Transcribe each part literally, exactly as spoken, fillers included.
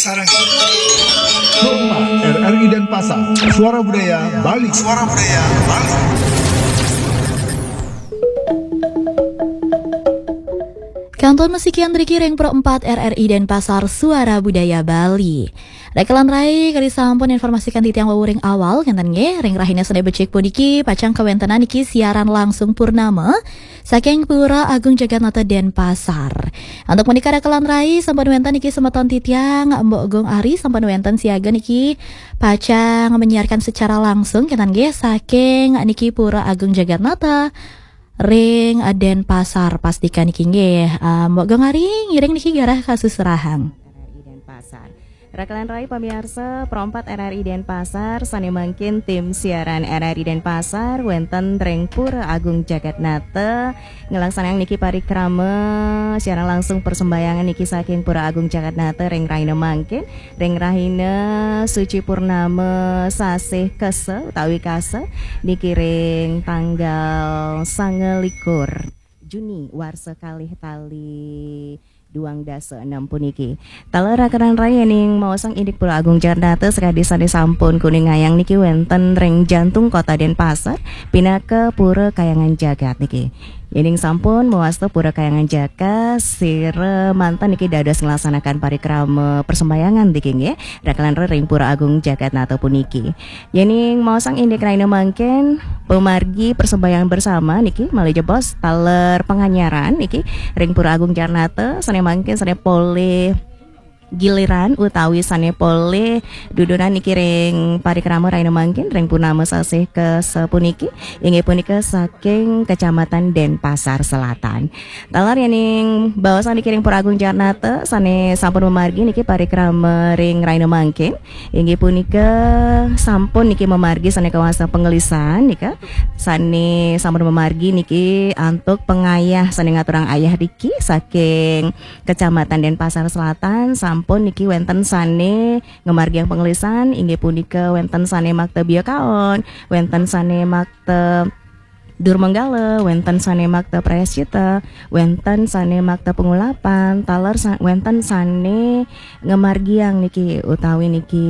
Sarang. Kompas, R R I Denpasar, Suara Budaya Bali. Suara Budaya Bali. Kantun masikian driki ring Pro empat R R I Denpasar, Suara Budaya Bali. Rakalan rai, kadi sampun informasikan titiang wau ring awal, kénten nggih, ring rahina Senin becik puniki pacang kawéntenan niki siaran langsung purnama saking Pura Agung Jagatnata Denpasar. Antuk punika rakalan rai, sampun wénten niki semeton titiang Mbok Gung Ari, sampun wénten siaga niki pacang menyiarkan secara langsung, kénten nggih, saking niki Pura Agung Jagatnata ring Denpasar. Pastika niki nggih, eh, Mbok Gung Ari ngiring niki garah kasusrahang. R R I Denpasar. Rakalan rai pamiarsa, Pro empat R R I Denpasar, sané mangkin tim siaran R R I Denpasar wénten ring Pura Agung Jagatnata nglaksanayang niki parikrama siaran langsung persembahyangan niki saking Pura Agung Jagatnata ring rahina mangkin, ring rahina suci purnama sasih Kesa utawi Kasa niki ring tanggal sangalikur Juni warsa kalih tali duang dasa enam puniki. Taler rakalan rai, yéning maosang indik Pura Agung Jagatnata sakadi sané sampun kuningayang niki wénten ring jantung kota Denpasar, pinaka Pura Kahyangan Jagat niki. Yéning sampun mawasta Pura Kahyangan Jagat, sira manten niki dados nglaksanakan parikrama persembahyangan niki nggih, rakalan rai ring Pura Agung Jagatnata puniki. Yéning maosang indik rahina mangkin, pamargi persembahyangan bersama niki malih jebos taler panganyaran niki ring Pura Agung Jagatnata, sané mangkin sané polih giliran utawi sané polih dudunan niki ring parikrama rahina mangkin ring purnama sasih Kesa puniki, inggih punika saking Kecamatan Denpasar Selatan. Taler yéning baosan niki ring Pura Agung Jagatnata sané sampun mamargi niki parikrama ring rahina mangkin, inggih punika sampun niki mamargi sané kawasta panglisan nika, sané sampun mamargi niki antuk pangayah sané ngaturang ayah niki saking Kecamatan Denpasar Selatan, sampun niki wénten sané ngamargiang panglisan, inggih punika wénten sané makta biakaon, wénten sané makta durmanggala, wénten sané makta prayascita, wénten sané makta pangulapan, taler sa-, wénten sané ngamargiang niki utawi niki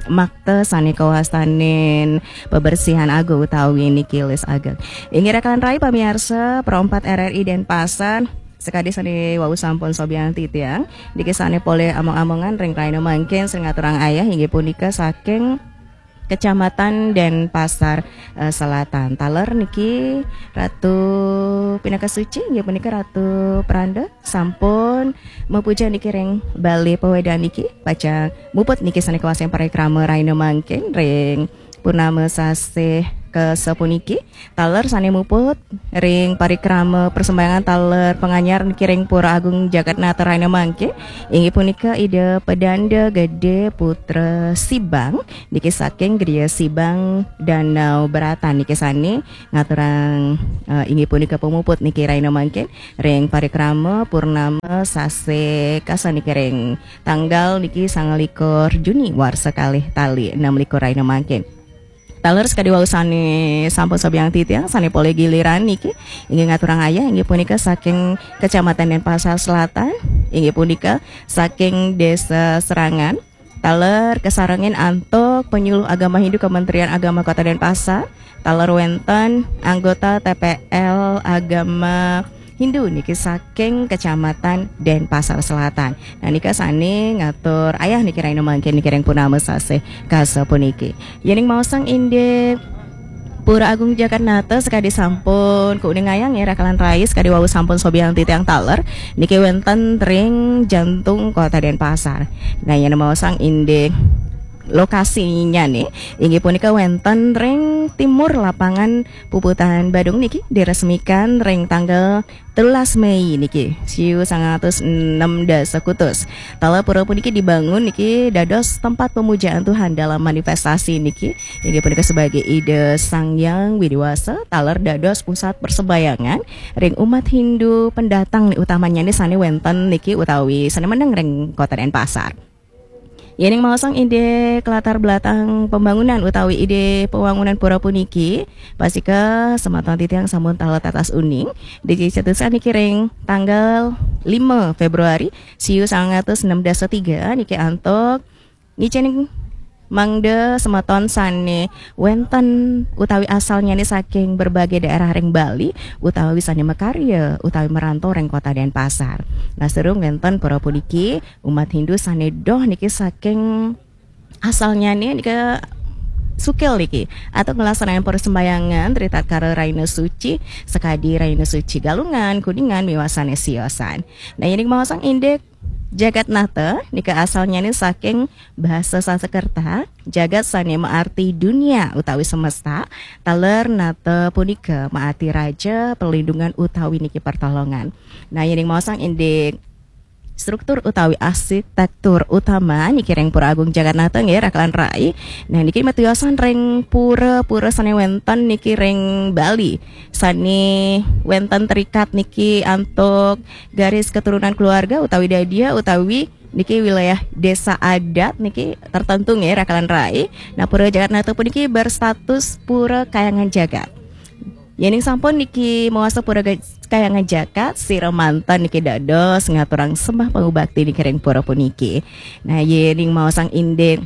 makta sané kawastanin pabersihan agung utawi niki lis ageng. Inggih rakalan rai pamiarsa, Pro empat R R I Denpasar, sakadi sané wau sampun sobiahang titiang, niki sané polih among-amongan ring rahina mangkin sira ngaturang ayah inggih punika saking Kecamatan Denpasar, eh, Selatan. Taler niki Ratu pinaka suci, inggih punika Ratu Pranda, sampun mapuja niki ring balé pawedan niki, pacang muput niki sané kawasta parikrama rahina mangkin ring purnama sasih Kesa puniki. Taler sané muput ring parikrama persembahyangan taler panganyar niki ring Pura Agung Jagatnata rahina mangkin, inggih punika Ida Pedanda Gede Putra Sibang niki saking Griya Sibang, Danau Beratan niki sané ngaturang, eh, inggih punika pamuput niki rahina mangkin ring parikrama purnama sasih Kesa niki ring tanggal niki sangalikur Juni warsa kalih tali enam likur rahina mangkin. Taler sakadi wau sané sampun sobiahang titiang, sané polih giliran niki inggih ngaturang ayah, inggih punika saking Kecamatan Denpasar Selatan, inggih punika saking Desa Serangan. Taler kasarengin antuk penyuluh agama Hindu Kementerian Agama Kota Denpasar. Taler wénten anggota T P L agama Hindu niki saking Kecamatan Denpasar Selatan. Nah, nika sané ngatur ayah niki rahina mangkin niki ring purnama sasih Kesa puniki. Yéning maosang indik Pura Agung Jagatnata sakadi sampun kuningayang ya rakalan rai, sakadi wau sampun sobiahang titiang taler niki wénten ring jantung kota Denpasar. Nah, yén maosang indik lokasinya nih, inggih punika wénten ring timur lapangan Puputan Badung niki diresmikan ring tanggal telulas Mei niki, siu sangang atus enam dasa kutus. Taler pura puniki dibangun niki dados tempat pemujaan Tuhan dalam manifestasi niki, inggih punika sebagai Ida Sang Hyang Widi Wasa, taler dados pusat persembahyangan ring umat Hindu pendatang nih, utamanya nih sané wénten niki utawi sané meneng ring Kota Denpasar. Yéning maosang indik latar belakang pembangunan utawi ide pembangunan pura puniki, pastika semeton titiang sampun taler tatas uning, dicetuskan niki ring tanggal lima Februari siu sangang atus enam belas tiga niki antuk ngicénin mangda semeton sané wénten utawi asalnyané saking berbagai daerah ring Bali utawi sané makarya utawi merantau ring kota Denpasar. Nah, sareng wénten pura puniki umat Hindu sané doh niki saking asalnyané nika sukil niki atau nglaksanain persembahyangan ritatkala rahina suci, sakadi rahina suci Galungan, Kuningan, miwah sané siosan. Nah, yéning maosang indik Jagat Nata nika asalnyané saking bahasa Sanskerta, jagat sané maarti dunia utawi semesta, taler nata punika maarti raja, perlindungan utawi niki pertolongan. Nah, yéning maosang indik struktur utawi arsitektur utama niki ring Pura Agung Jagat Nata nggih, rakalan rai. Nah, niki matiosan ring pura-pura sané wénten niki ring Bali. Sané wénten terikat niki antuk garis keturunan keluarga utawi dadia utawi niki wilayah desa adat niki tertentu nggih, rakalan rai. Nah, Pura Jagat Nata puniki berstatus Pura Kahyangan Jagat. Yéning sampun niki mawasta Pura Ga-, Kahyangan Jagat, sira manten niki dados ngaturang sembah pangubakti niki ring pura puniki. Nah, yéning maosang indik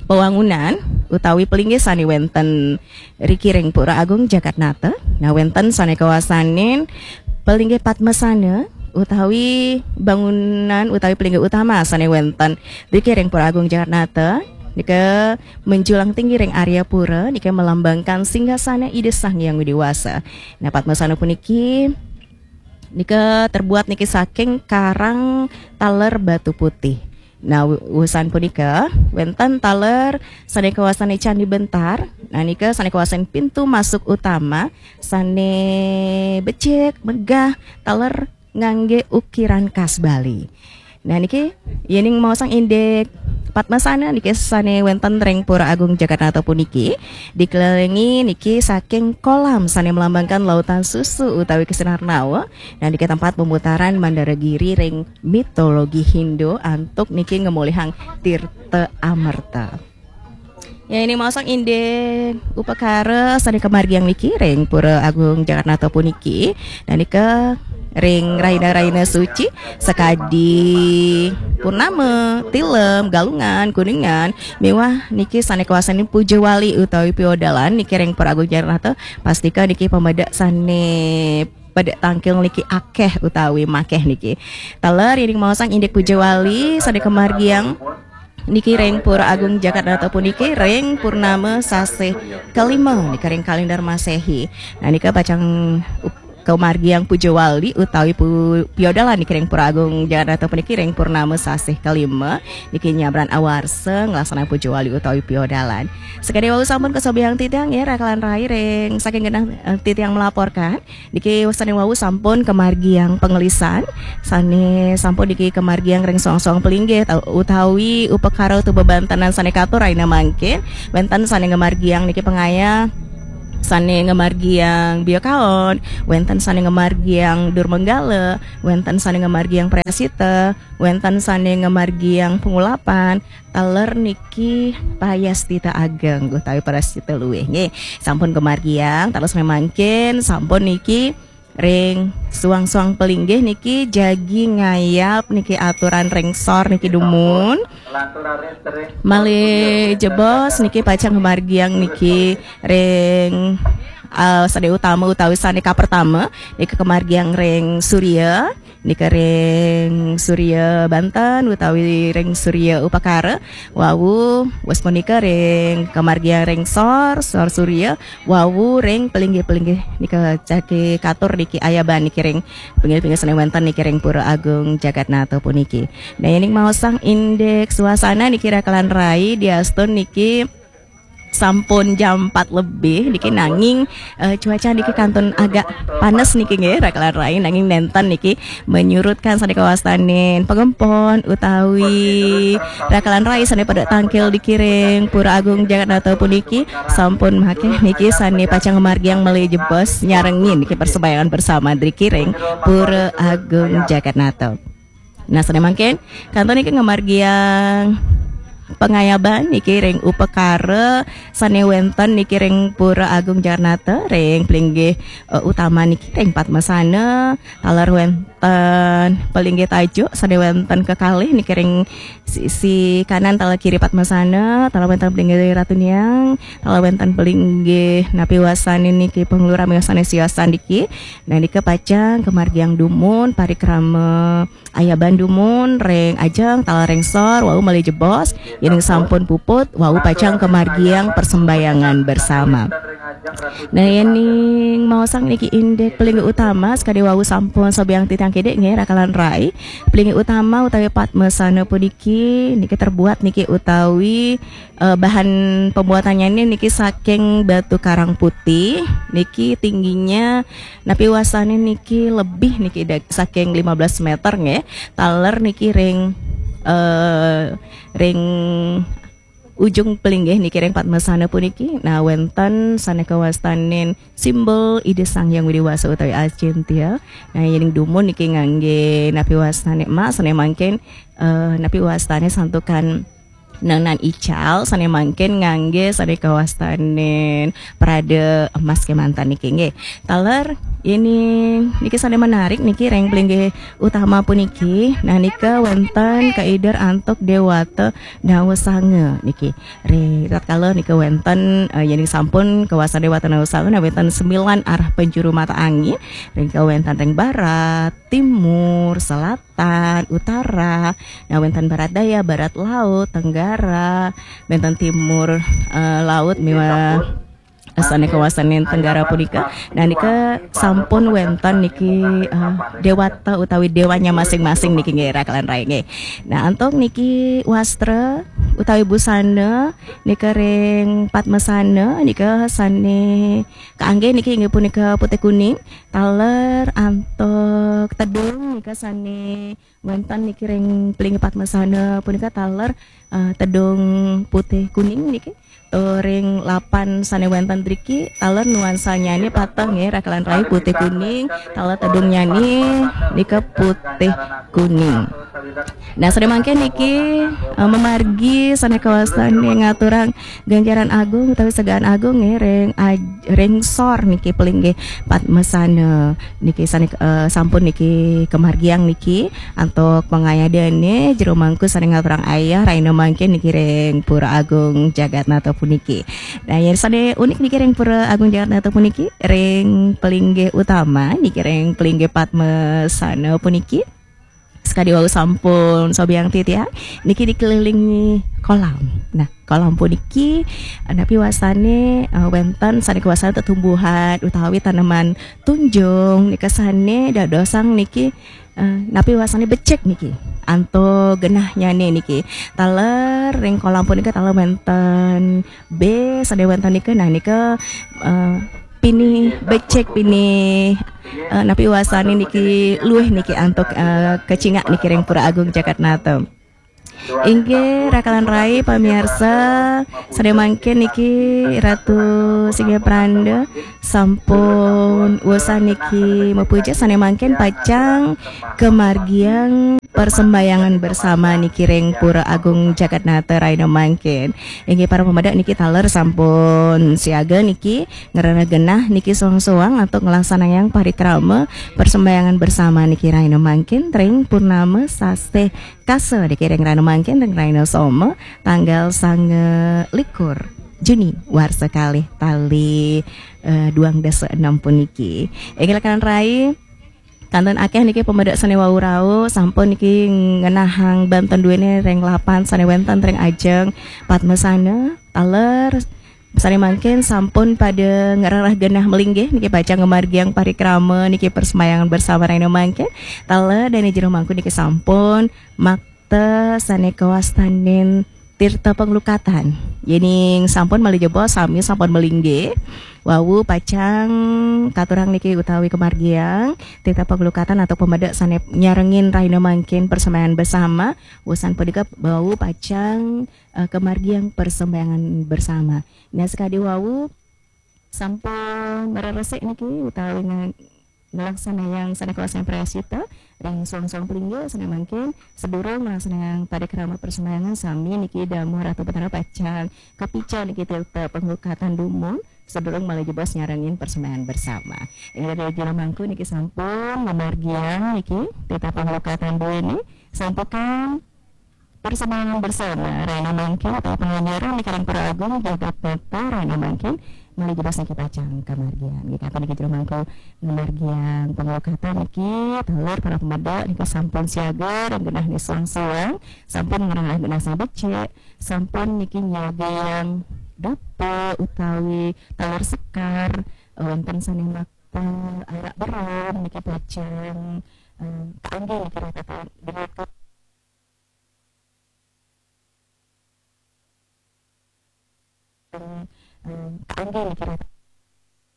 pewangunan utawi pelinggih sané wénten riki ring Pura Agung Jagat Nata. Nah, wénten sané kawastanin pelinggih Padmasana utawi bangunan utawi pelinggih utama sané wénten riki ring Pura Agung Jagat Nata. Nika menjulang tinggi ring arya pura, nika melambangkan singgasana Ida Sang Hyang Widhi Wasa. Nah, Padmasana puniki nika terbuat niki saking karang taler batu putih. Nah, wu-, wusan punika wénten taler sané kawastanin Candi Bentar. Nah, nika sané kawastanin pintu masuk utama sané becik, megah, taler nganggé ukiran khas Bali. Nah, niki yéning maosang indik Padmasana niki sané wénten ring Pura Agung Jagat Nata puniki dikelilingi niki saking kolam sané melambangkan lautan susu utawi kesinar nawa. Nah, niki tempat pemutaran Mandara Giri ring mitologi Hindu antuk niki ngemulihang tirta amerta. Yéning maosang indik upakara sané kamargiang niki ring Pura Agung Jagat Nata puniki. Nah, nika ring rahina-rahina suci sakadi Purnama, Tilem, Galungan, Kuningan, miwah niki sané kawastanin Puja Wali utawi piodalan niki ring Pura Agung Jagat Nata, pastika niki pamedek sané pedek tangkil niki akéh utawi makéh niki. Taler yéning maosang indik Puja Wali sané kamargiang niki ring Pura Agung Jagat Nata puniki ring purnama sasih kalima nika ring kalendar Masehi. Nah, nika pacang up-, kamargiang Puja Wali utawi pu-, piodalan niki ring Pura Agung Jagat Nata puniki ring purnama sasih kalima niki nyabran awarsa nglaksanain Puja Wali utawi piodalan. Sakadi wau sampun kasobiahang titiang nggih, rakalan rai ring saking genah, eh, titiang melaporkan. Niki sané wau sampun kamargiang pangelisan, sané sampun niki kamargiang ring soang-soang pelinggih tau-, utawi upakara utawi bebantenan sané katur rahina mangkin, wénten sané ngamargiang niki pangayah, sané ngamargiang biakaon, wénten sané ngamargiang durmanggala, wénten sané ngamargiang prayascita, wénten sané ngamargiang pangulapan, taler niki prayascita ageng utawi prayascita luih nggih. Sampun kamargiang, taler sané mangkin sampun niki ring soang-soang pelinggih niki jagi ngayap niki aturan ring sor niki dumun. Malih jebos niki pacang kamargiang niki ring, eh, sané utama utawi sané kapertama niki kamargiang ring Surya, nika ring Surya Banten utawi ring Surya Upakara. Wau, wus punika ring kamargiang ring sor, sor Surya, wau ring pelinggih-pelinggih nika jagi katur niki ayaban niki ring pinggir-pinggir sané wénten niki ring Pura Agung Jagat Nata puniki. Nah, yéning maosang indik suasana niki rakalan rai diastun niki sampun jam empat lebih niki nanging, eh, cuaca niki kantun agak panas niki nggih, rakalan rai, nanging nénten niki menyurutkan sané kawastanin pangempon utawi rakalan rai sané pada tangkil niki ring Pura Agung Jagat Nata puniki sampun makéh niki sané pacang ngamargiang malih jebos nyarengin niki persembahyangan bersama niki ring Pura Agung Jagat Nata. Nah, sané mangkin kantun niki ngamargiang pangayaban niki ring upakara sane wenten niki ring Pura Agung Jagatnata ring pelinggih eh, utama niki ring Padmasana, taler wenten pelinggih tajuk sane wenten kekalih niki ring sisi kanan taler kiri Padmasana, taler wenten pelinggih Ratu Niang, taler wenten pelinggih napi wasane niki panglurah miwah sane siosan niki. Nah, nika pacang kamargiang dumun parikrama ayaban dumun ring ajeng taler ring sor wau malih jebos, yening sampun puput wau pacang kamargiang persembayangan bersama. Nah, yening maosang niki indik pelinggih utama sakadi wau sampun sobiang titiang kidik nggih rakalan rai. Pelinggih utama utawi Padmasana puniki niki terbuat niki utawi eh, bahan pembuatannya ini niki saking batu karang putih, niki tingginya napi wasane niki lebih niki da- saking lima belas meter nggih. Taler niki ring eh, ring ujung pelinggih niki ring Padmasana puniki. Nah, wenten sane kawastanin simbol Ida Sang Hyang Widi Wasa utawi Acintya. Nah, yening dumun niki ngangge napi wastane emas, sane mangkin eh, napi wastane santukan nenan ical, sane mangkin ngangge sane kawastanin prada emas kemanten niki nggih. Taler ini niki sane menarik niki ring pelinggih utama puniki. Nah, nika wenten kaider antuk dewata Nawasanga niki. Ri tatkala nika wenten eh, yening sampun kawasan dewata Nawasanga, nah, wenten sembilan arah penjuru mata angin. Ring wenten ring barat, timur, selatan, utara. Nah, wenten barat daya, barat laut, tenggara, wenten timur eh, laut miwah sane kawasanin tenggara punika. Nah, nika sampun wenten niki eh, dewata utawi dewanya masing-masing niki nggih rakalan rai nggih. Nah, antuk niki wastra utawi busana nika ring Padmasana nika sane kaangge niki inggih punika putih kuning, taler antuk tedung nika sane wenten niki ring pelinggih Padmasana punika taler eh, tedung putih kuning niki. Turing lapan sane wenten driki, taler nuansanyane pateh nggih, rakalan rai putih kuning, taler tedungnyane nika putih kuning. Nah, sane mangkin niki eh, memargi sane kawastane ngaturang ganjaran agung utawi segaan agung nggih ring aj- ring sor niki pelinggih Padmasana niki sane eh, sampun niki kamargiang niki antuk pangayadane jero mangku sane ngaturang ayah raina mangkin niki ring Pura Agung Jagatnata puniki. Nah, yen sane unik niki ring Pura Agung Jagatnata puniki ring pelinggih utama niki ring pelinggih Padmasana puniki. Sakadi wau sampun sobiang titiang niki dikelilingi kolam. Nah, kolam puniki eh, napi wasane eh, wenten sane kawasane tetumbuhan utawi taneman tunjung nika sane dadosang niki eh, napi wasane becik niki. Antuk genahnyane niki. Taler ring kolam punika taler wenten be sane wenten nika, nah, nika eh, pinih becik, pinih eh, napi wasane niki luwih niki antuk eh, kacingak niki ring Pura Agung Jagatnata. Inggih rakalan rai pamiarsa, sane mangkin niki Ratu Singgih Pranda sampun wusan niki mapuja, sane mangkin pacang kamargiang persembayangan bersama niki ring Pura Agung Jagatnata raina mangkin. Inggih para pamedek niki taler sampun siaga niki ngrereh genah niki soang-soang antuk nglaksanayang parikrama persembayangan bersama niki raina mangkin ring purnama sasih Kasa niki ring raina mangkin ring raina Soma tanggal sanga likur Juni warsa kalih tali eh, duang dasa enam puniki. Inggih rakalan rai, kantun akeh niki pamedek sane wau rauh sampun niki ngenahang banten duene ring lapan sane wenten ring ajeng Padmasana taler sane mangkin sampun pada ngrereh genah malinggih niki pacang ngamargiang parikrama niki persembayangan bersama raina mangkin. Taler dane jero mangku niki sampun makta sane kawastanin tirta panglukatan. Yening sampun malih jebos sami sampun malinggih, wau pacang katurang niki utawi kamargiang tirta panglukatan antuk pamedek sane nyarengin raina mangkin persembayangan bersama. Wusan punika wau pacang eh, kamargiang persembayangan bersama. Nah, sakadi wau sampun mareresik niki utawi nga- ngelaksanayang sane kawasana prayascita ring suang-suang palingga sane mangkin. Sadurung ngelaksanayang parikrama parsembahyangan, sami niki damuh Ratu Betara pacang kapica niki titah panglukatan dumun sadurung malih jebos nyarengin parsembahyangan bersama. Inggih, ring jero mangku niki sampun ngamargiang niki titah panglukatan duene, sampukan parsembahyangan bersama rahina mangkin utawi panganjaran niki ring Para Agung Jagat Nata rahina mangkin malih jebos niki pacang kamargiang. Nggih, kantun niki jero mangku ngamargiang panglukatan niki, taler para pamedek niki sampun siaga ring genah niki suang-suang, sampun ngrereh genah sane becik, sampun niki nyagayang dupa utawi taler sekar, wenten sane makta arak berum niki pacang, eh, kaanggé niki rata-rata. Em, em, kaanggé niki rata-,